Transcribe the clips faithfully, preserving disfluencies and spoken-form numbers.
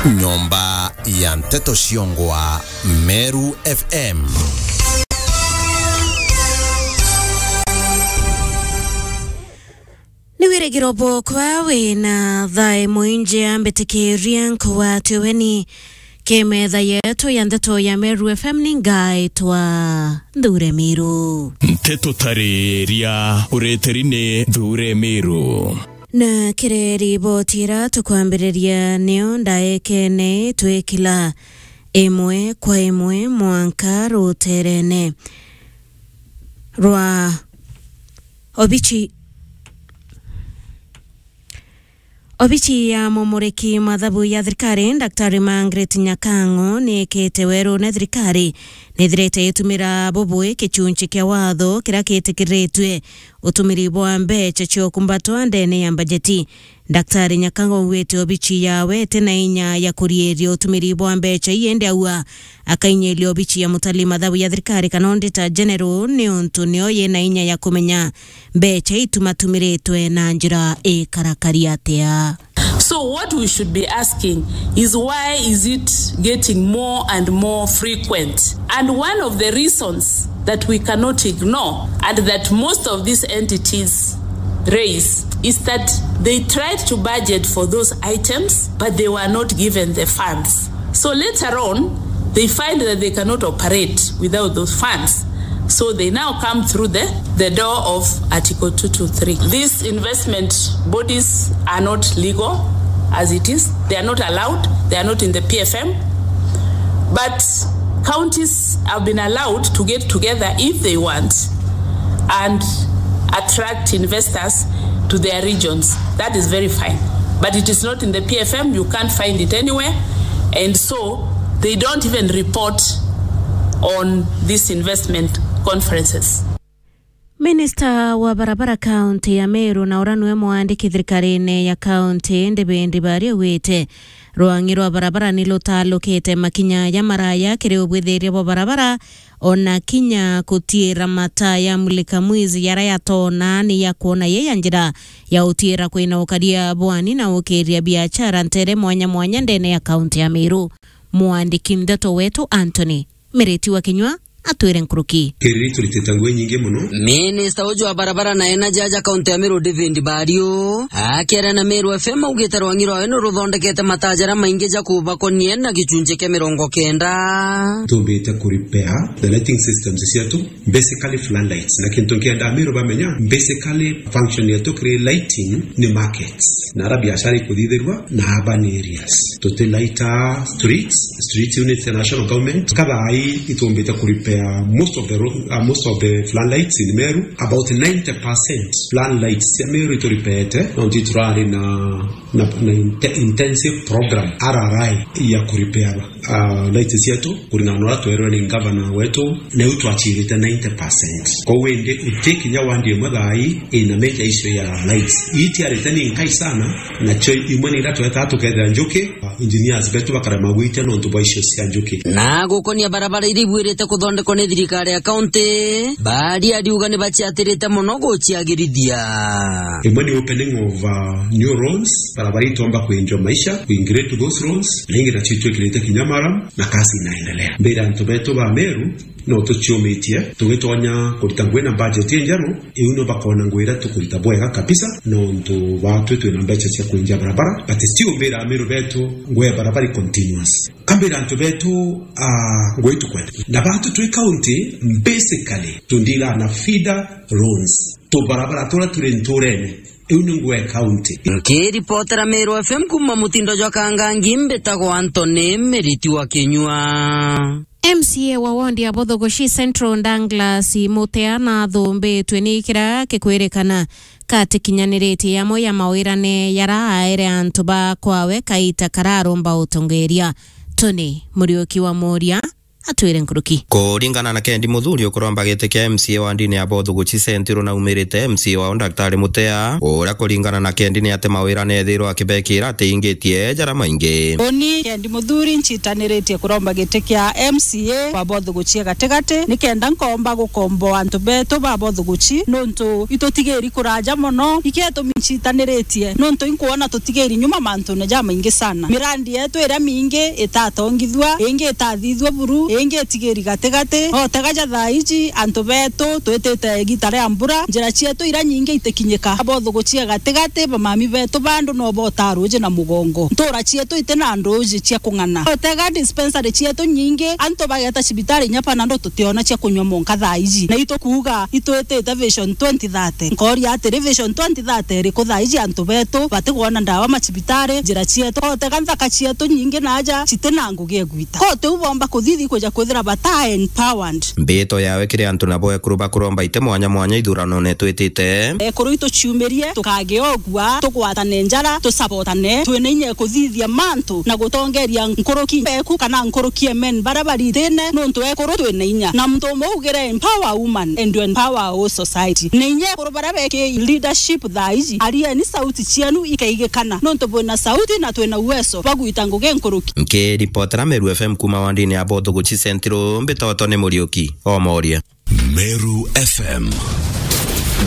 Nyomba ya nteto ciongwa Meru F M. Ni wirigiro bwokwa wina thaa imwe injea, mbitikiria nkugwate ugeni ki metha yetu ya nteto ya Meru F M. Ni ngaitwa Nthure Miru. Nteto tariria ureteri ni Nthure Miru. Na kiri riboti ira tukwambiriria niyo ndaekene twikila imwe kwa imwe mwanka ruterene rwa obici, obici ya mumuriki mathabu ya thirikari, Daktari Margaret Nyakang'o, ni ikite werune thirikari nithirite itumira bubui gicunci kia watho kiria gitikiritue utumiri bwa mbeca cia ukumbatwa ndene ya mbajeti. Daktari Nyakang'o augite obici yawe iti na inya ya kuriiria utumiri bwa mbeca ii, indi auga akainyiria obici ya mutari mathabu ya thirikari kana Auditor General, niuntu nio yina inya ya kumenya mbeca itumatumiritwe na njira ikarakari atia. So what we should be asking is, why is it getting more and more frequent? And one of the reasons that we cannot ignore and that most of these entities raise is that they tried to budget for those items, but they were not given the funds. So later on, they find that they cannot operate without those funds. So they now come through the, the door of Article two two three. These investment bodies are not legal as it is. They are not allowed. They are not in the P F M. But counties have been allowed to get together if they want and attract investors to their regions. That is very fine. But it is not in the P F M. You can't find it anywhere. And so they don't even report on these investment conferences. Minista wa barabara kaunti ya Meru na uria niwe mwandiki thirikarine ya kaunti, David Baria, augite rwang'i rwa barabara ni rutalukite makinya ja maraya kiri ubwithiria bwa barabara, ona kinya kutiira mataa ya mulika mwizi jaria yatoona ni ya kwona ye ya njira ya utiira kwina ukaria bwani na ukiria biachara ntere mwanya mwanya ndene ya kaunti ya Meru. Mwandiki ndeto wetu Anthony Miriti wa Kinyua atwire nkuruki. Kiriri turitite ngugi nyingi mono. Minista uju wa barabara na energy aja kaunti ya Meru, David Bario, akiaria na Meru F M, augite rwang'i rwawe ni ruthondekete mataa jaria maingi ja kubakonie na gicunji kia mirongo kenda. Tumbite ku repair the lighting systems cietu, basically floodlights. Na kintu nkienda Meru bamenya, basically function yetu kiri lighting ni markets na ara biashara ikuthithirua na urban areas. Tuti lighter streets, streets unit ya national government. Kathaai itumbite ku repair most of the ro-, uh, most of the floodlights in Meru. About ninety percent floodlights cia Meru itu repairete. Nontu turari na, na, na inte-, intensive program, R R I, ya ku repair, uh, lights cietu. Kuringana na uria twerwe ni ngavana wetu, nau twachirite ninety percent. Kwou indi uti kinya wandi imwe thaai ina major issue ya lights. Ii tiarite ni nkai sana, nacio imwe ni iria twetaa tukethira njuki, engineers betu bakarema gwitia nontu bwa issue cia njuki. Na gukonia barabara iria ibuirite kuthondekwa ni thirikari ya kaunti, Baria ariuga ni baciatirite mono guciagirithia. Imwe ni opening of, uh, new roads, barabara itomba kwenjwa maisha, kuingrade those roads, na ingi nacio itwikirite kinya maram, na kazi inaendelea. Mbira antu betu ba Meru, no tuciumitie, tugitonya kurita ngugi na budget injeru, iu no bakona ngugi iria tukurita bwega kabisa, nontu batwi twina mbeca cia kwinjia barabara, but still mbira Ameru betu ngugi ya barabara i continuous. Kambira antu betu, ah, ngugi tukwenda. Na batu twi county, basically, tundiga na feeder roads. Tubarabara turia turi nturene, iu ni ngugi ya county. Nkiripotera Meru F M kuma mutindo jwa Kangangi, mbitagwa Anthony Miriti wa Kinyua. M C A wa ward ya Bothogoshi Central, Douglas Mutea, nathumbitue ni kiria kikwirikana katikinyaniritie yamwe ya mawirane yara aere antu ba kwawe kaita kararomba utongeria. Tony Muriuki wa Muria atwire nkuruki. Kuringana na Kendi Muthuri ukuromba giti kia M C A wa ndini ya Bothuguchi Central na umirite M C A wao Daktari Mutea, uria kuringana na Kendi ni ati mawira nethirwa akibekira ati ingitie jara maingi. Uni Kendi Muthuri nchitaniritie kuromba giti kia M C A wa Bothuguchi ya gatigati, nikenda nkomba gukomboa antu betu ba Bothuguchi nuntu itutigiri kuraja mono. Iketumi nchitaniritie nuntu inkwona tutigiri nyuma mantune jamaingi sana. Mirandi yetu iria mingi itatongithua, ingi itathithua buru, ingi itigiri gatigati. Otega ja thaa iji antu betu twitite igita ria mbura, njira cietu iria nyingi itikinyika. Abothuguchia gatigati, bamami betu bandu no bota ruuji na mugongo. Ntura cietu iti na nduuji cia kung'ana. Otega dispensary cietu nyingi, antu bageta cibitari inya panado tutiona cia kunywa monka thaa iji. Na itukuuga itwitite Vision twenty thirty. Nkoria atiri, Vision twenty thirty iriku thaa iji antu betu batikwona ndawa macibitari, njira cietu, otega nthaka cietu nyingi naja citi na ngugi egwita? Ko tiu bomba kuthithi kuja kwithira bata empowered? Mbito yawe kiri antu nabo ekuru bakuromba ite mwanya mwanya ithuranone twitite. Ekuru ituciumirie, tukage ogua, tugwatane njara, tusabotane, twina inya kuthithia mantu na gutongeria nkuruki eku kana nkuruki emen bara baritine, nuntu ekuru twina inya. Na muntu umwe ugire empower woman and you empower our society. Ni inya ekuru bara beki leadership thaa iji, arieni sauti cienu ikaigikana, nuntu bwina sauti na twina uwezo bwa gwita ngugi nkuruki. Nkiripotera Meru F M kuma wandini ya Bothuguchi Central, mbitoto ni Muriuki Omoria. Meru F M.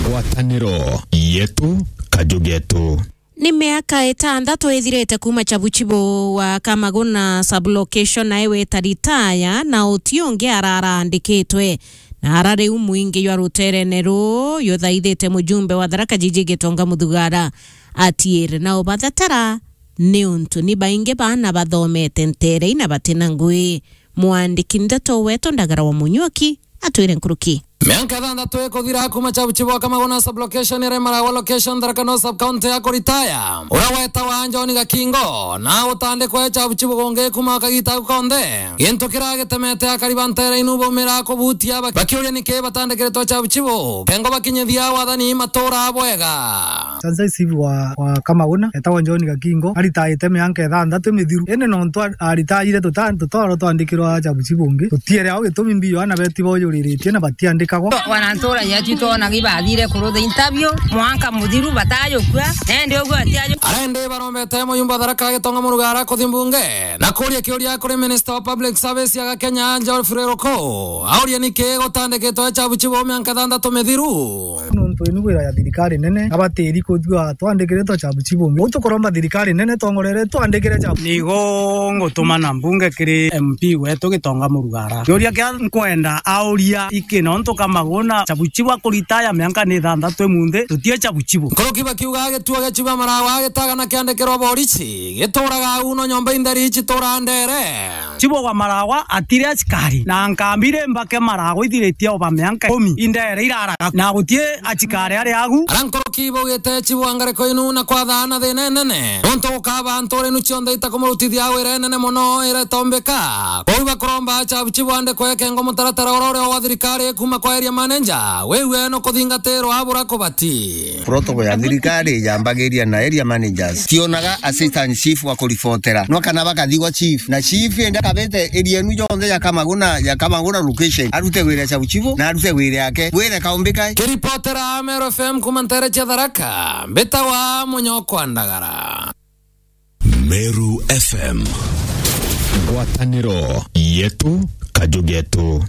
Ngwataniro yetu, kaju getu. Ni miaka itantatu ithirite kuma Chabuchibo wa Kamaguna sublocation nae weta ritaya, na uti ungi ararandikitwe. Na ara riu mwingi jwa ruterene ruu juthaithite mujumbe wa Tharaka Jiji Gitonga Muthugara atiire na ubathetera, niuntu ni baingi baana bathomete nterei na batina ngui. Mwandiki ndeto wetu Ndagara wa Munyuki atwire nkuruki. Mianka ithanthatu ikuthira kuma Chabuchibo wa Kamaguna sublocation iri Maragwa location, Tharaka Nithi sub county ya kuritaya, uria wetawa John Gakingo, na gutandikwa e Chabuchibo gungi kuma kagita konthe. Gintu kiragitemete akari ba ntere inu baumira kubutia bak-, bakiuria niki batandikiritwe Chabuchibo, kengo bakinyithia wathani matura bwega. Chanza chief wa, wa Kamaguna, etagwa John Gakingo, aritaite mianka ithanthatu mithiru. Indi nontu a-, aritaire tuta-, tutoro twandikirwa Chabuchibo ungi, tutiere au gitumi mbi Yohana beti bojuriritie na batiandikagwa. Wanantura yetu twonagi bathire kurutha interview, mwanka muthiru batayukua, na indi uguo atiaju. Ara indi barombete muyumba Tharaka Gitonga Murugara kuthi mbunge na kuria kiuria kuri Minister wa Public Service ya Kenya, Geoffrey Ruku, aurie niki gutandikitwe Chabuchibo mianka ithanthatu mithiru. Nontu inu wira ya thirikari nene, abatiri kuthua twandikiritwe Chabuchibo. Uu tukuromba thirikari nene tongorere twandikire Chabu. Nigo ngutuma na mbunge kiri M P wetu Gitonga Murugara. Kiuria kia nkwenda auria iki nontu Kamaguna Chabuchibo akuritaya mianka ni ithanthatu imunthi, tutie Chabuchibo. Nkuruki bakiuga gituo gia Chief wa Maragwa gitagana kiandikirwa borisi, gituraga au no nyomba intheri ici tura ndere. Chief wa Maragwa atire asikari, na nkambi ri mbake Maragwa ithiritie oba mianka ikumi, indeere iraraga, na gutie asikari ari agu. Ara nkuruki baugite Chief wa ngariko inu na kwathaana thina inene, nontu gukaba ntura inu cionthe itakumurutithia wira inene mono iretombeka. Kwou bakuromba Chabu Chief andikwe kengo mutaratara ura uria wa thirikari kuma kwa area manager, wiwe no kuthingatirwa abura kubati. Protocol ya thirikari yambagiria na area managers. Tionaga assistant chief wa kuribotera. No kana bakathigwa chief. Na chief enda kabete area enu yonthe ya Kamaguna, ya Kamaguna location. Arute wira Chabu Chief na arute wira yake. Wira kaumbi kae. Kiripotera Meru F M kuma ntere cia Tharaka, mbitawa Munyokwa Ndagara. Meru F M. Ngwataniro yetu, kaju getu.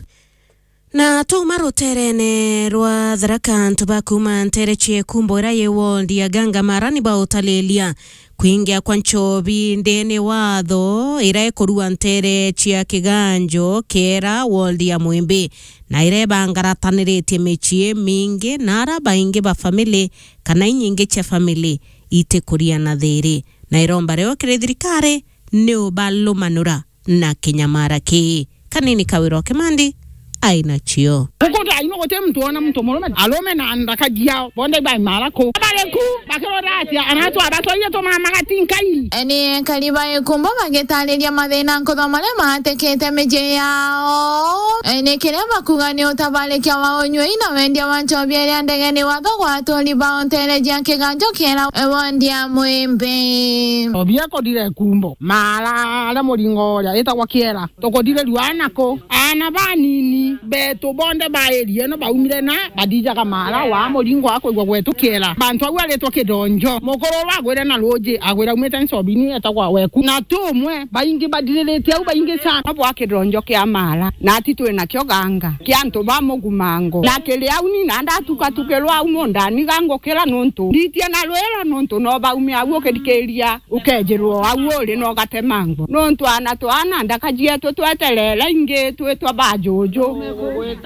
Na tuma ruterene rwa Tharaka, antu ba kuma ntere cia Ikumbo ira yi ward ya Gangamara ni bautalilia kwingia kwa nchobi ndene watho ira ikurua ntere cia Kiganjo Kiera ward ya Mwimbi, na ira ibangarataniritie micii mingi, na ara baingi ba family kana inyingi cia family itikuria na thiri, na iromba rio kiri thirikari ni ubalumanura na kinyamara kii. Kanini Kawira o Kimandi aina cio. Ukuta Guti muntu wona muntu murume, arume na nthaka ciao, bonthe ibaimara ku. Bari ku, bakirora atia, anatwa batwaire tumama gatinkai. Ni ekari ba Ikumbo bagitariria mathina nkuthoma maria matikite micii yao. E, ni kiria bakuga ni utabarikia wa unyui na wendia wa nchobi iria ndege ni watho gwa aturi bao ntere cia kiganjo kiera, e, wondi ya Mwimbi. Nchobi ekudire Ikumbo, mara aria muringo uria itagwa Kiera. Tukuthiriria ana ku? Ana banini betu bonthe ba area ino baumire na bathijaga mara wa muringo wa kwigua gwetu Kiera. Bantu au aritwa Kidonjo. Mukuru uru agwire na ruuji, agwire aumite Nchobini etagwa Weku. Na tumwe, baingi bathiriritie au, baingi sana bwa Kidonjo kia mara. Na ati twi nakio ganga, kia antu ba Mugumango. Na kiri au ni na ndatukatukirwa au mundani gangukira nuntu nditie na rwiro nuntu no baume au ukithikiria. Ukejirwo au uri na ugatemangwa. Nontu ana twana ndaka cietu tweterere ingi twitwa ba juju.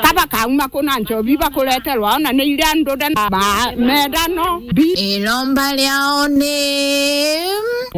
Ka bakauma ku na nchobi bakureterwa ona ni iria ndude na ba medano. Bi- Iromba riao ni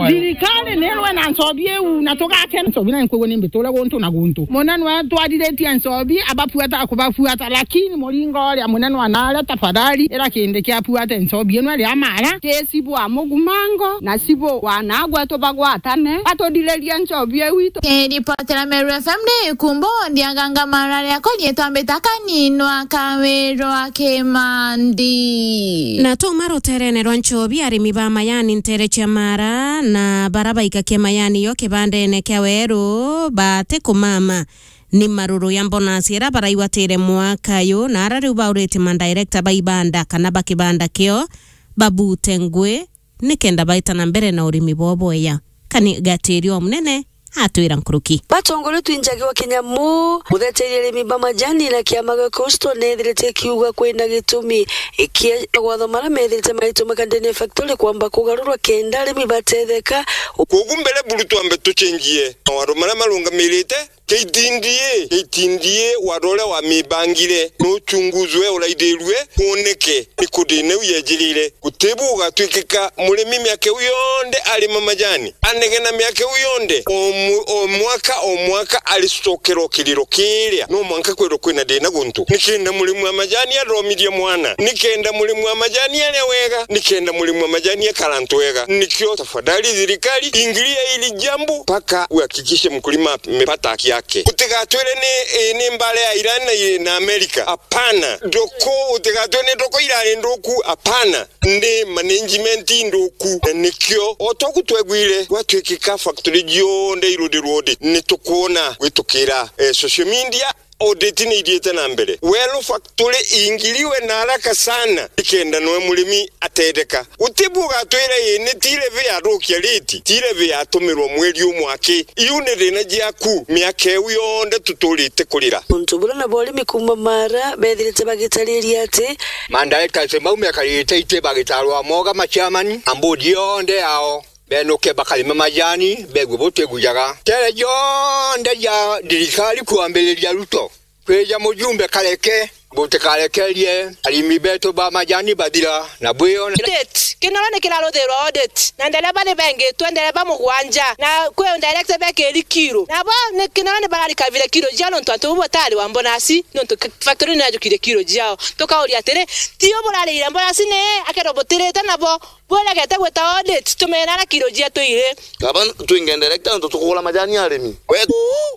thirikari ni rwe na nchobi iu na tugake nchobi na nkwigua ni mbiture guntu na guntu. Munene we twariritie nchobi abafuata kubafuata, lakini muringo uria munene wa nare tafadhali ira kindi kia fuate nchobi ino ria mara kesi bwa Mugumango. Na cibu wanagwe tubagwatane, batudiririe nchobi iu itu. Kiripotera Meru F M ni Ikumbo, ndiaganga mara riakwa rietwa Mbita Kaninwa Kawirwa Kimandi. Na tuma ruterene rwa nchobi, arimi ba majani ntere cia mara na bara baikakia majani yo kibandene kia weru batikumama ni maruru ya mbonasi ira baraigwatire mwaka uyu, na ara riu baurite madirector ba ibanda kana ba kibanda kio babute ngui nikenda baita na mbere na urimi bwao bweya. Kani Gatirio Munene atwira nkuruki. Batongoretwe injagi wa kinyamu, mutheteria arimi ba majani na kiama gia Coastal nethirite kiuga kwina gitumi ikia gwatho mara methirite maituma kandene factory kwamba kugarurwa kenda arimi batetheka. Kogu mbere buru twambe tucenjie mawatho maria marungamirite. K T D A, K T D A, wari uria wamibangire nuchunguzwe, uraithirue, kwoneke ni ku thina iu yejirire. Gutibu ugatwikika murimi miaka iu yonthe arima majani, anegena miaka iu yonthe, o mu-, o mwaka, o mwaka aricokera o kiriro kiria. No mwanka kwithirwa kwina thina guntu. Nikenda murimi wa majani athomithie mwana, nikenda murimi wa majani aria wega, nikenda murimi wa majani akara antu wega. Nikio tafadhali thirikari, ingilia hili jambo mpaka uhakikishe mkulima amepata haki yake. Utigatwire ni, eh, ni mbara ya Iran na, na Amerika. Hapana. Ndoko, utigatwire ni ndoko irari nduku. Hapana. Ni management nduku. Na nikio, o toku twegwire, gwatwikika factory cionthe iruthirwe audit. Ni tukwona gwitukira, eh, social media. Audit ni ithiite na mbere. Welo factory ingiliwe na haraka sana, nikenda noe murimi atetheka. Gutibu ugatwira ii ni ti levy yathukia rate, ti levy yatumirwa mweri umwe aki. Iu ni thina ciaku, miaka iu yonthe tuturite kurira. Untu bura na borimi kuuma Mara bethirite bagitariria ati, ma directors mau mekarite iti bagitarwa moga ma chairman na board yonthe yao. Benuke bakarime majani, begue butigujaga. Tere jonthe ja thirikari kwambiriria Ruto kwija mujumbe kareke, butikarekerie arimi betu ba majani bathira na bwiyone. Audit. Kinoro ni kiraruthirwa audit. Na ndereba ni bengitwe ndereba mugwanja. Na kwi director be kiri kiro. Nabo ni Kinoro ni bararikavire kiro ciao nontu antu bu batari wa mbonasi, nontu k-, factory ni yajukirie kiro ciao. Tukauria atiri, ti u burarire mbonasi ni akerwo butirite nabo? Bwiragete gwita audit, tumena ara kiro cietu iri. Kaba twinge director, nontu tukugura majani arimi. Wetu,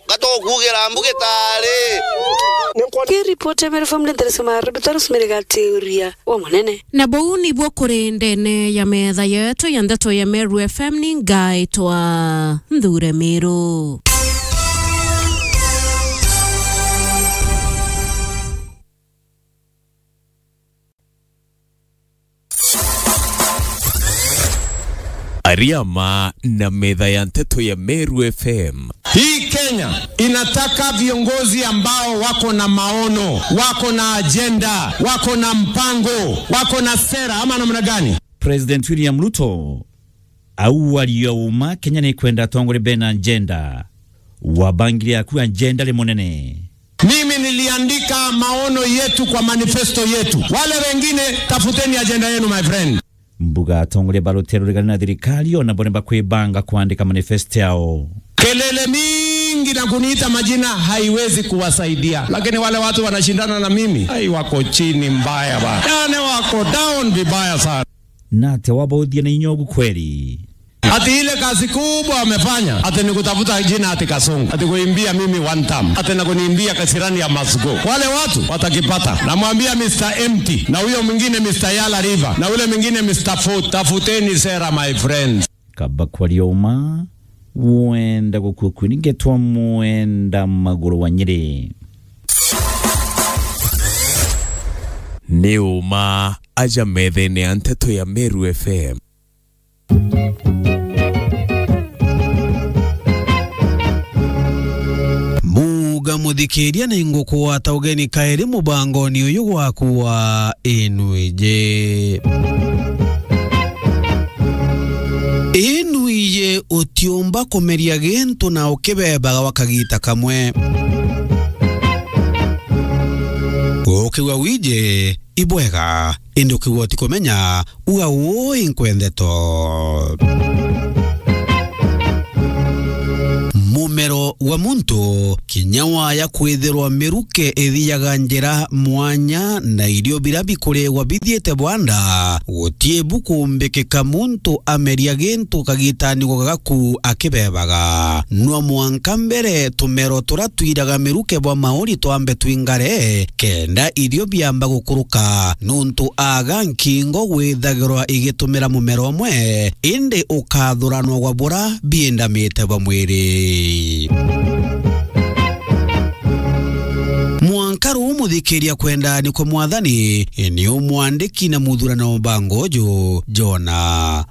gatokugira mbuge tari. Ki report ya Meru Family Interest Mara, Peter Rosemary Gatiuria, wa munene. Na buu nibwo kuri ndene ya metha yetu ya ndeto ya Meru F M, ni ngaitwa Nthure Miru. Ariama na metha ya nteto ya Meru F M. Hii Kenya inataka viongozi ambao wako na maono, wako na ajenda, wako na mpango, wako na sera, ama namna gani? President William Ruto au aria uma, Kenya ni kwenda atongoria bena agenda. Wabangire aku agenda ri munene. Mimi niliandika maono yetu kwa manifesto yetu. Wale wengine, tafuteni ajenda yenu, my friend. Mbuga atongoria ba rutere ruregani na thirikari ona bo ni bakwibanga kwandika manifesto yao. Kelele mingi na kuniita majina haiwezi kuwasaidia. Lakini wale watu wanashindana na mimi, ai, wako chini mbaya bana. Yani wako down vibaya sana. Na ate wabauthia na inyogu kweli? Ati ile kazi kubwa amefanya, ati ni kutafuta jina ati Kasongo, ati kuimbia mimi one term, ati na kuniimbia kasirani ya must go. Wale watu watakipata. Namwambia Mister Empty, na huyo mwingine Mister Yala River, na ule mwingine Mister Foot. Tafuteni sera, my friends. Kaba kwaria uma, wenda gukua kwini ngetwa mwenda maguru wa Nyeri. Ni uma aja methene ya nteto ya Meru F M. Muga muthikiria ni ngukugwata ugeni kairi mubangoni uyu gwaku wa Inuije. Inuije utiumba kumeria gintu na ukibebaga gwa kagita kamwe. Ukigua wije, ibwega, indi ukigua utikumenya, uga ui nkwendeto. Mumero wa muntu, kinya waya kwithirwa miruke ithiaga njira mwanya na irio bira bikuregwa bithiite bwanda, guti bukumbikika muntu ameria gintu kagitani gagaku akibebaga. Nwa mwanka mbere tumero tura twiraga miruke bwa mauri twambe twingare, kenda irio biamba gukuruka, nuntu aga nkingo gwithagirwa igitumira mumero umwe, indi ukathuranwa gwa bura biendamite bwa mwiri. Mwanka ruu muthikiria kwenda ni kwa Mwathani, ni umwandiki na muthurano wa mbango uju, Jona.